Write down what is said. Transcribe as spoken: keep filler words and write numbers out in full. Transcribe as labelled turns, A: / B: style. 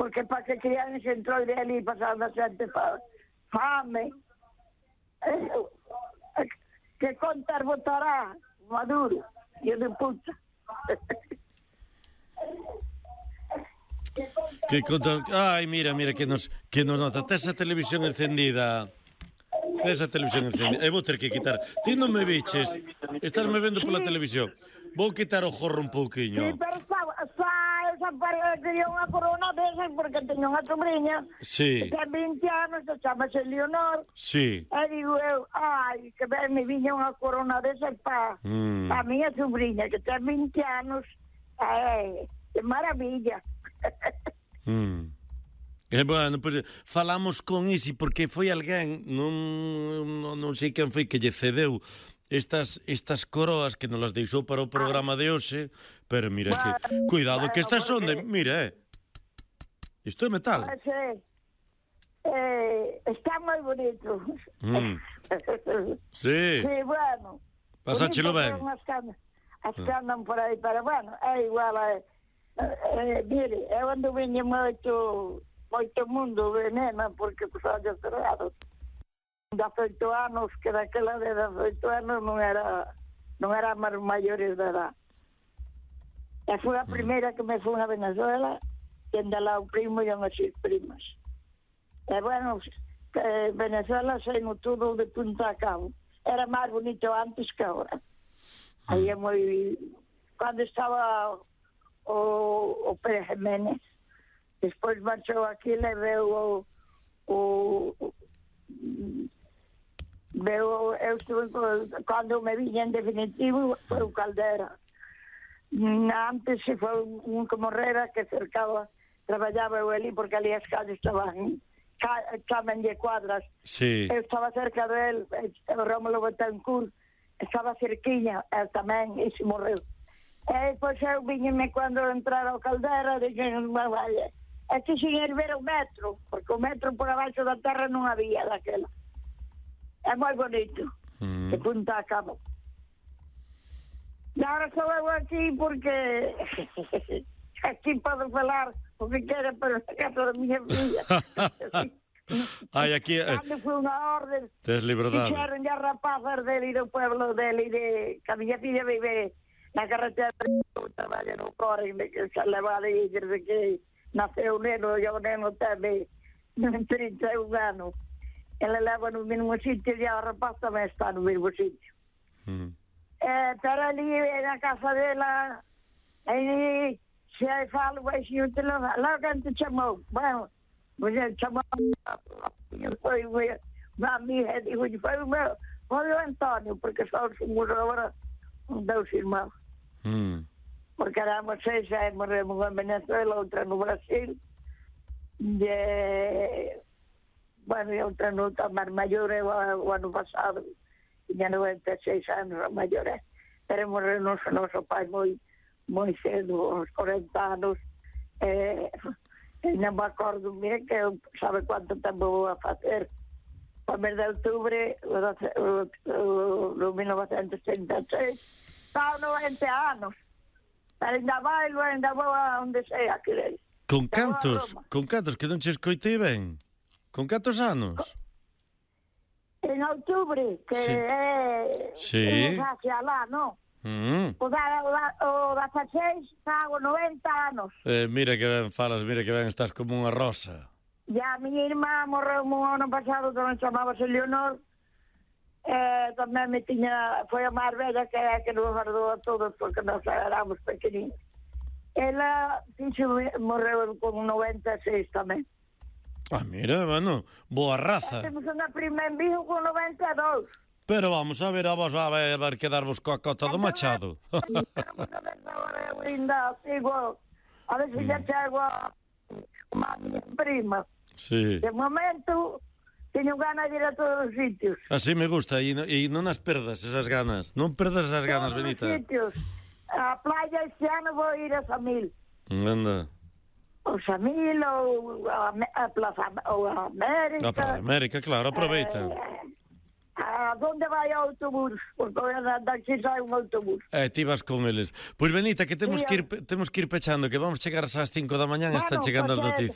A: porque para que crian se entrou de ali pasando a xente fa, fame. Eh, que contar votará Maduro, yo de puta.
B: Que conta... Ai, mira, mira, que nos, que nos nota. Tes a televisión encendida. Tes a televisión encendida. E vou ter que quitar. Ti non me viches. Estás me vendo pola televisión. Vou quitar o jorro un pouquiño.
A: Sí, pero está, está esa pareja quería unha corona desas porque teña unha sobrinha.
B: Sí.
A: Que ten vinte anos, que chamase Leonor.
B: Sí.
A: E digo eu, ai, que ben me viña unha corona desas para
B: Mm.
A: pa miña sobrinha, que ten vinte anos. É, que maravilla.
B: Mm. E bueno, pues, falamos con Isi porque foi alguén, non, non, non sei quen foi que lle cedeu estas estas coroas que nos las deixou para o programa de hoxe, pero mira que cuidado que estas son de, mira, eh. Isto é metal.
A: Ah, sí. Eh, está moi bonito.
B: Mm. Sí.
A: Sí, bueno.
B: Pasáchelo ben.
A: As que, andan, as que andan por aí, pero bueno, é igual a... Eh, mire, eu ando viña moito moito mundo de nena, porque pues ollos cerrados. dezoito anos, que daquela de dezoito anos non era non era máis maiores de edad. E foi a primeira que me foi a Venezuela, que anda lá o primo e unhas seis primas. E bueno, que Venezuela sei no todo de punta a cabo. Era máis bonito antes que agora. Aí é moi... Cando estaba o, o Pérez Jiménez, despois marchou aquí, le veu o... o Veo, eu estuve, cando me viña en definitivo, foi o Caldera. Antes se foi un que morrera que cercaba, traballaba eu ali, porque ali as calles estaban, chaman de cuadras.
B: Sí.
A: Eu estaba cerca del, o Rómulo Betancourt, estaba cerquiña, el tamén, e se morreu. E pois eu viñeme cando entrar ao Caldera, dixen, vaya, é que sin ir ver o metro, porque o metro por abaixo da terra non había daquela. É moi bonito, mm. de punta a cabo. E agora sou eu aquí porque aquí podo falar o que quero, pero na casa da minha filha.
B: Ai, aquí...
A: Cando foi unha orde,
B: tes liberdade.
A: fixeron ya rapazas dele do pueblo dele, de que a miña filha vive na carretera do traballo no Corre, que se leva de desde que naceu o neno, e o neno teme trinta e un anos. Ela leva no mesmo sitio e a rapaz tamén está no mesmo sitio. Mm. Eh, pero ali na casa dela, aí se aí falo, vai se eu te levar, lá quem te chamou? Bueno, você chamou, foi uma amiga, digo, foi o meu, foi o Antônio, porque só somos agora dois irmãos. Mm. Porque éramos seis, aí morremos en Venezuela, outra no Brasil, e... Bueno, e outra nota máis maior é o, o ano pasado, tiña noventa e seis anos a maior, é. Pero morreu noso, noso pai moi, moi cedo, aos corenta anos, e, e non me acordo, mira que eu sabe quanto tempo vou a facer. O mes de outubro, no mil novecentos e trinta e seis, estaba noventa anos, pero ainda bailo, ainda vou a onde sea, queréis.
B: Con cantos, con cantos, que non che escoitei ben? Con cantos anos?
A: En outubro, que
B: sí.
A: é...
B: Sí.
A: É hacia lá, non?
B: Mm.
A: O, da, o, o dezasseis fago noventa anos.
B: Eh, mira que ben falas, mira que ben estás como unha rosa.
A: E a miña irmá morreu un ano pasado, tamén chamábase Leonor. Eh, tamén me tiña... Foi a máis bella que é que nos guardou a todos, porque nos éramos pequeninos. Ela fixo, morreu con noventa e seis tamén.
B: Ah, mira, bueno, boa raza.
A: Temos unha prima en Vigo con noventa e dous.
B: Pero vamos a ver, a vos a ver, a ver quedarvos coa cota do Machado.
A: Vamos a ver agora, linda, sigo, a ver se xa chego a unha miña prima.
B: Sí.
A: De momento, teño ganas de ir a todos os sitios.
B: Así me gusta, e, no, e non as perdas esas ganas. Non perdas esas ganas,
A: todos
B: Benita.
A: Todos os sitios. A playa este ano vou ir a Samil.
B: Anda.
A: O Samil, ou a, a Plaza ou a América.
B: A Plaza América, claro, aproveita.
A: Eh, a donde vai o autobús? Porque daqui sai un autobús.
B: Eh, ti vas con eles. Pois, Benita, que temos, sí, que ir, temos que ir pechando, que vamos chegar ás cinco da mañá e bueno, están chegando as noticias.